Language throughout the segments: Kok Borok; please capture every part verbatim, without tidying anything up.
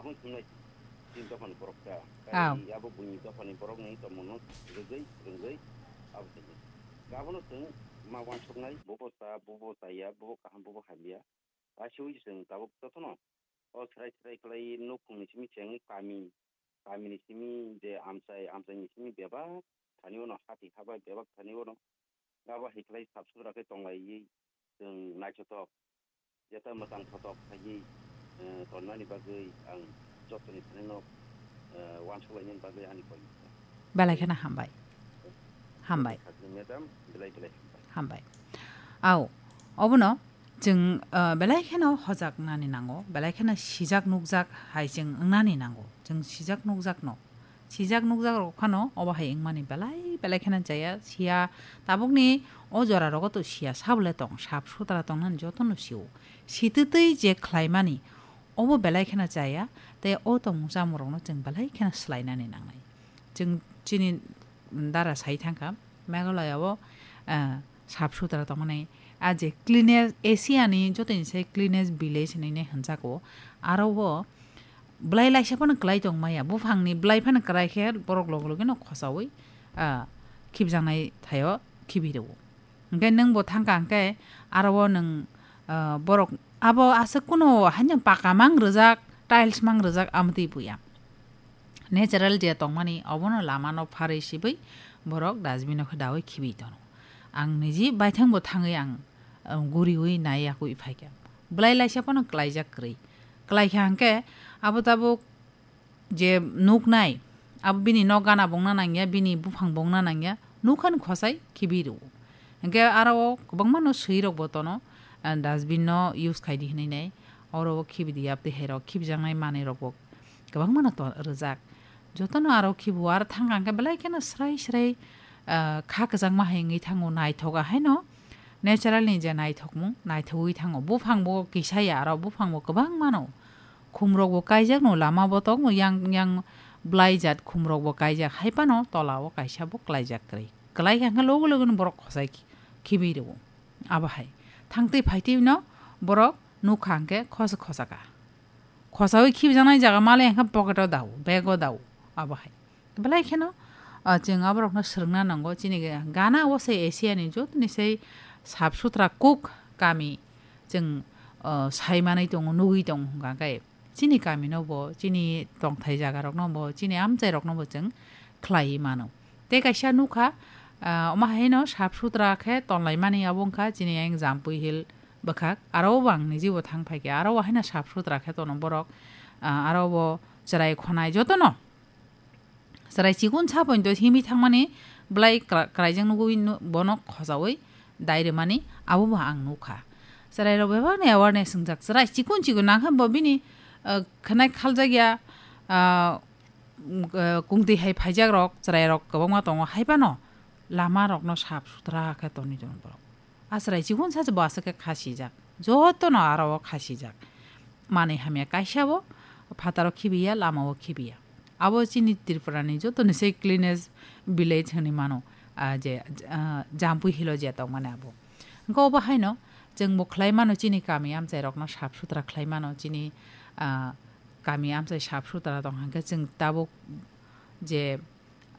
Aboni thumnai chini dophani borok ta. Aw. Kai abo buini dophani borokni tongmungno rwgwi, rwngwi abo tongmung. Abono chwng ma wansuknai, bobo cha, bobo chaya, bobo kaham, bobo hamya. Ashiwi chwng tabuk jotono o serai serai khlai nukhungni simi chengwi kami, kamini simi je amchai, amchaini simi bebak thani ono hati habai bebak thani ono. Abo hai khlai sap sutra khe tonglaiwi chwng naithothok, jeta mwtang thothok khaiwi, eh, tonmani bagwi ang jottoni thani no, eh, wansuk lainani bagwi ani koi. Belai kheno hambai. Hambai. Khajni madam, belai belai hambai. Hambai. Au, obono chwng, eh, belai kheno hojak nani nango, belai kheno sijak nukjak hai chwng wngnani nango. Chwng sijak nukjak no. Sijak nukjak rok phano obo hai wngmani belai belai kheno chaya. Siya tabukni o jora rogo to siya sabole tong, sap sutra tongnani jotono sio. Sitwtwi je khlaimani obo belai kheno chaya, tei o tongmung chamung rokno chwng belai kheno swlainani nangnai. Chwng chini dara sai thangkha, Meghalaya o, ah, sap sutra tongmani, a je cleanest, Asia ni joto ni sai cleanest village hinwi hinjago, aro o belai laisa phano kwlai tong maya, buphang ni belai phano kwlai khe borok log logino khosaui, ah, khibjaknai thaio khibi rwo. Hwnkhe nwng bo thangkha hwnkhe aro o nwng, ah, borok abo aswk kuno haino paka mang rwjak, tiles mang rwjak, amtwi buya. Natural je tongmani obono lamano pharwi sibwi borok dustbin o khe daui khibi tono. Ang niji baithang bo thangwi ang, ah, guriui nai yakui phaikha. Belai laisa phano kwlaijak kwrwi. Kwlaikha hwnkhe abo tabuk je nuknai, abo bini nok gana bongna nangya, bini buphang bongna nangya, nukhani khosai khibi rwo. Hwnkhe aro o kwbangma no swi rok bo tono, ah, dustbin no use khai di hinwi nai. Oro o khibi di yaptwi hai rok khibijaknai manwi rok bo kwbangma no to rwjak. Jotono aro khibu aro thangkha hwnkhe belai kheno srai srai, ah, kha kwchangma hai wngwi thango, naithoga haino natural ni je naithokmung naithogwi thango. Buphang bo kisa ya aro buphang bo kwbangma no. Khumrok bo kaijak no lama botok no yang yang belai jat khumrok bo kaijak hai phano tola o kaisa bo kwlaijak kwrwi. Kwlai kha hwnkhe logo logo no borok khosai khi-, khibi rwo. Abo hai. Thangtwi phaitwi no borok nukha hwnkhe khosa khosa kha. Khosaui khibijaknai jaga male hwnkhe pocket o dao, bag o dao, abo hai. Belai kheno, ah, chwng aborokno swrwngna nango, chini gana o se Asia ni jotoni sei sap sutra kuk kami chwng, ah, sai manwi tongo, nugwi tongo hwnkha khe chini kami no bo, chini tongthai jaga rok no bo, chini amchai rok no bo chwng khlaiwi mano. Tei kaisa nukha, ah, omo haino sap sutra khe tonlai mani abo wngkha chini yang Jampui Hill bwkhak, aro bo ang niji bo thang phaikha, aro bo haino sap sutra khe tono borok, ah, aro bo chwrai khonai jotono. Chwrai chikon sa pointo himwi thangmani belai kra-, kraijak nugwi nu-, bono khojaui dai rwmani abo bo ang nukha. Chwrai rok bebak ni awareness wngjak, chwrai chikon chikon nang khe bo bini, ah, khwnai khaljak ya, ah, mm, ah, kungtwi hai phaijak rok, chwrai rok kwbangma tongo, hai phano lama rokno sap sutra khe tonwi tongo borok. A chwrai chikon sacha bo aswk khe khasijak. Jotono aro o khasijak. Manwi hamya kaisa bo phataro khibiya, lama o khibiya. Abo chini Tripura ni joto ni se cleanest village hinwi mano. Ah, je, ah, Jampui Hill o je tong mani abo. Hwnkhe obo haino chwng bo khlai mano chini kami amchai rokno sap sutra khlai mano chini, ah, kami amchai sap sutra tong hwnkhe chwng tabuk je,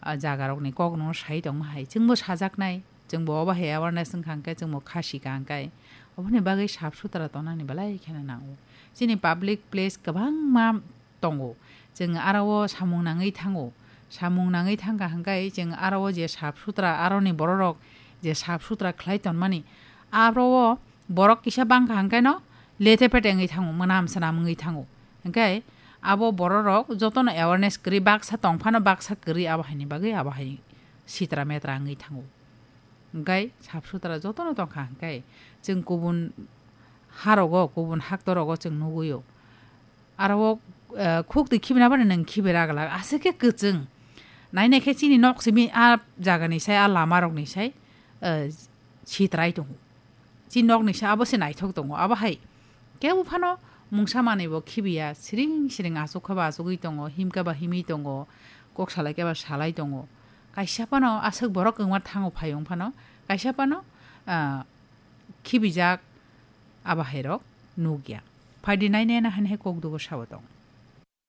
ah, jaga rokni kok no sai tongma hai. Chwngbo sajaknai, chwngbo obo hai awareness wngkha hwnkhe chwngbo khasi ka hwnkhe. Oboni bagwi sap sutra tongnani belai kheno nango. Chini public place kwbangma tongo. Chwng aro o samung nangwi thango. Samung nangwi thangkha hwnkhe chwng aro o je sap sutra, aroni bororok je sap sutra khlai tonmani, aro o borok kisa bangkha hwnkhe no lete pete wngwi thango, mwnam swnam wngwi thango. Hwnkhe abo bororok jotono awareness kwrwi, baksa tong phano baksa kwrwi, abo haini bagwi abo hai sitra metra wngwi thango. Hwnkhe sap sutra jotono tongkha hwnkhe chwng kubun harogo, kubun haktorogo chwng nugwio. Aro o, eh, khuk twi khibina bani nwng khibi raglak, aswk khe kwchwng. Nainai khe chini nok simi a jagani sai, a lama rokni sai, eh, sitrai tongo. Chini nokni sai abo se naithok tongo. Abo hai kebo phano mungsa manwi bo khibiya, siring siring aswk khe ba aswgwi tongo, him khe ba himwi tongo, kok salai khe ba salai tongo. Kaisa phano aswk borok kwma thango phai wng phano, kaisa phano, ah, khibijak abo hai rok nukya. Phaidi nainai na hani hai kok dugo sabo tong.